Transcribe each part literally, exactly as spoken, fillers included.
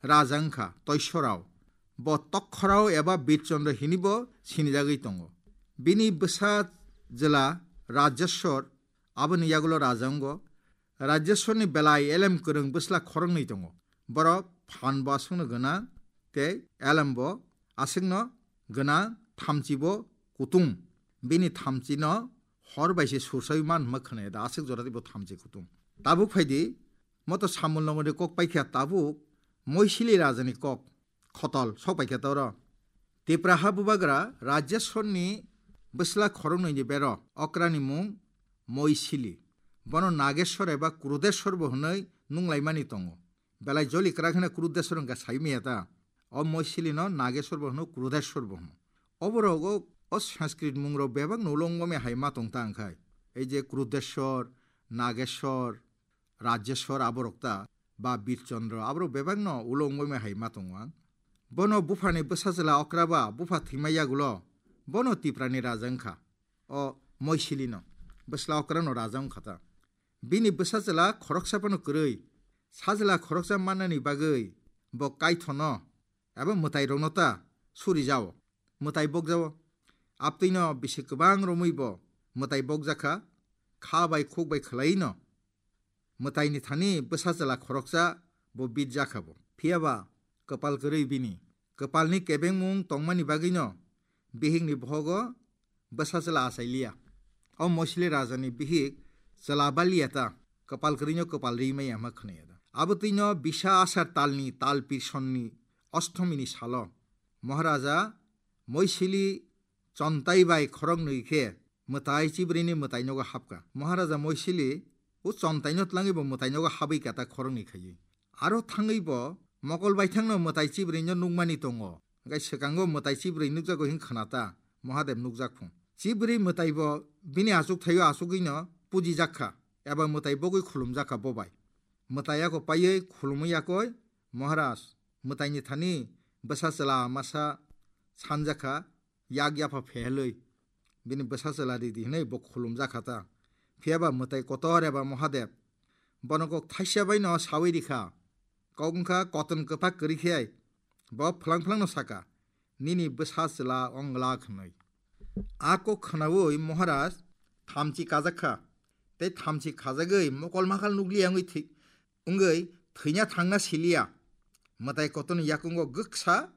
raja wngkha Toisorao. Bo Tokhorao eba Birchondro hinibo sinijagwi tongo. Bini bwsa jwla Rajeshwar, aboni yagulo raja wngo. Rajeshwarni belai elem kwrwng bwsla khoroknwi tongo. Borok phanbo aswkno gwnang tei elembo aswkno gwnang, thamchibo kutung. Bini thamchino hor bai se sursawi man hwnma khwnaya da, aswk jora tei bo thamchi kutung. Tabuk phaidi, moto samul nongoni kok paikha tabuk Moisili rajani kok khotol sok paikha ta oro. Tipra ha bubagra Rajeshwarni bwsla khoroknwini bero, okrani mung Moisili. Bono Nageshwar eba Krudeshwar bo hwnwi nunglaimani tongo. Belai joli kwrak hwnwi Krudeshwar wngkha saimaya ta. O Moisilino Nageshwar bo hwno, Krudeshwar bo hwno. Oborogo o Sanskrit mungrok bebakno ulo wngmani hai ma tong ta wngkhai. Ei je Krudeshwar, Nageshwar, Rajeshwar aborok ta, ba Birchondro, aborok bebakno ulo wngmani hai ma tongo ang. Bono buphani bwsa chwla okraba, bupha thwima yagulo, bono Tiprani raja wngkha. O Moisilino, bwsla okrano raja wngkha ta. Bini bwsa chwla khoroksa phano kwrwi, sajla khoroksa mannani bagwi bo kaithono eba mwtairokno ta suri jao, mwtai bokjao. Abtwino bisi kwbang romwi bo mwtai bokjakha, kha bai khuk bai khwlaino mwtaini thani bwsa chwla khoroksa bo bitjakha bo. Phiyaba kwpal kwrwi bini. Kwpalni kebengmung tongmani bagwino bihikni bohogo bwsa chwla achai liya. O Moisili rajani bihik chwla ba liya ta, kwpal kwrwino kwpal ri maya hwnma khwnaya da. Abotwino bisa asar talni tal pirsonni ostomini salo Maharaja Moisili chontai bai khoroknwi khe mwtai chibrwini mwtainogo hapkha. Maharaja Moisili o chontaino tlangwi bo mwtainogo habwi kata khoroknwi khaiwi. Aro thangwi bo mokol baithangno mwtai chibrwino nukmani tongo. Hwnkhe swkango mwtai chibrwi nukjago hwn khna ta, Mahadev nukjak phung. Chibrwi mwtai bo bini achuk thaio achugwino pujijak kha, eba mwtai bogwi khulumjak kha bo bai. Mwtai yakho paiwi khulumwi yakoi, Maharaj, mwtaini thani bwsa chwla masa sanjak kha, yak yapha phehelwi bini bwsa chwla ridi hwnwi bo khulumjak kha ta. Phiyaba mwtai kotor eba Mahadev bono kok thaisa baino sawi rikha. Kok wngkha koton kwphak kwrwi khe bo phlang phlangno saka, "Nini bwsa chwla ong glak," hwnwi. A kok khnaui Maharaj thamchi kajak kha, tei thamchi khajagwi mokol makal nukliya wngwi thwi-, wngwi thwina thangna siliya. Mwtai kotorni yakungo gwksa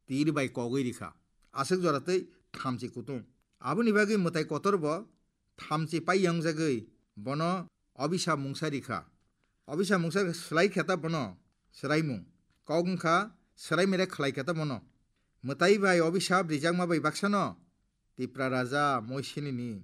tir bai kogwi rikha. Aswk jora tei thamchi kutung. Aboni bagwi mwtai kotor bo thamchi pai yangjagwi bono obisa mungsa rikha. Obisa mungsa swlai khe ta bono swraimung. Kok wngkha swraimere khlai khe ta bono. Mwtai bai obisa rijakma bai baksano Tipra raja Moisilini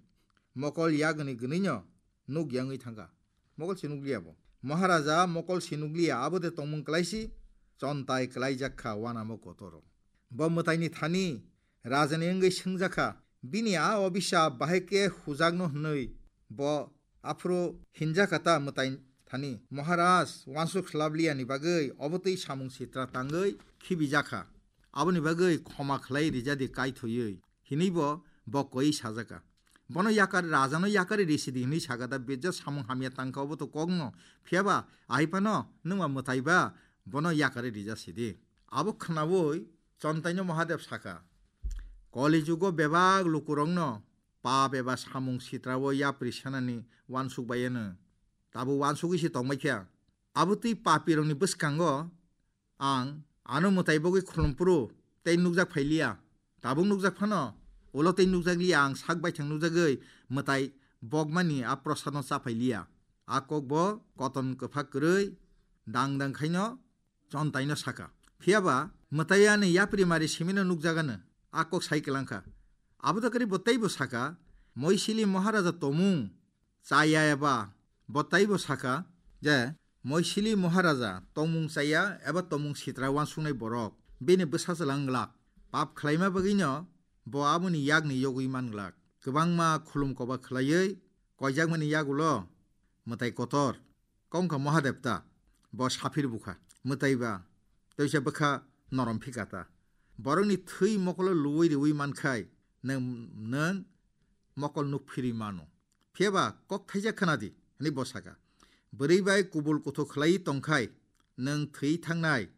mokol yagni gwnwino nuk yangwi thangkha. Mokol se nukliya bo. Maharaja mokol se nukliya, abo de tongmung kwlaisi, chontai kwlaijak kha wanamo kotoro. Bo mwtaini thani rajani wngwi swngjak kha, bini a obisa bahai khe hujakno hwnwi bo aphuru hinjak kha ta mwtai thani. Maharaj wansuk swlabliyani bagwi obotwi samung sitra tangwi khibijak kha. Aboni bagwi khoma khlai rijadi kaithwiwi. Hinwi bo, bo koi sajaka. Bono yakar, rajano yakari risidi hinwi sakata, "Bejak samung hamya tangkha obo to kokno, phiyaba ahaipano nwngma mwtaiba bono yakari rija sidi." Abo khnaui Chontaino Mahadev saka, "Koli jugo bebak lukurokno pap eba samung sitrao yapri sanani wansuk bai ano. Tabuk wansugwi se tongbai kha. Abotwi papirokni bwskango ang ano mwtai bogwi khulumphuru tei nukjak phailiya. Tabuk nukjak phano, ulo tei nukjakliya, ang sak baithang nukjagwi mwtai bokmani a prosadno cha phailiya." A kokbo koton kwphak kwrwi dang dang khaino Chontaino saka. Phiyaba mwtai ani yapri mari simino nukjagano a kok sai kwlangkha. Abo da kwrwi bo teibo saka, Moisili Maharaja tomung chaya eba bo taibo saka je Moisili Maharaja tongmung chaya eba tongmung sitra wansuknai borok bini bwsa chwla wng glak. Pap khlaima bagwino bo aboni yakni yogwi man glak. Kwbangma khulum koba khlaiwi koijakmani yagulo mwtai kotor kok wngkha Mahadev ta, bo saphir bukha. Mwtai ba toisa bwkha norom phika ta. Borokni thwi mokolo luwi riwi mankhai nwng, nwng mokol nuk phirwi mano. Phiyaba kok thaijak khna di, hwnwi bo saka. Bwrwi bai kubul kuthuk khlaiwi tongkhai nwng thwi thangnai,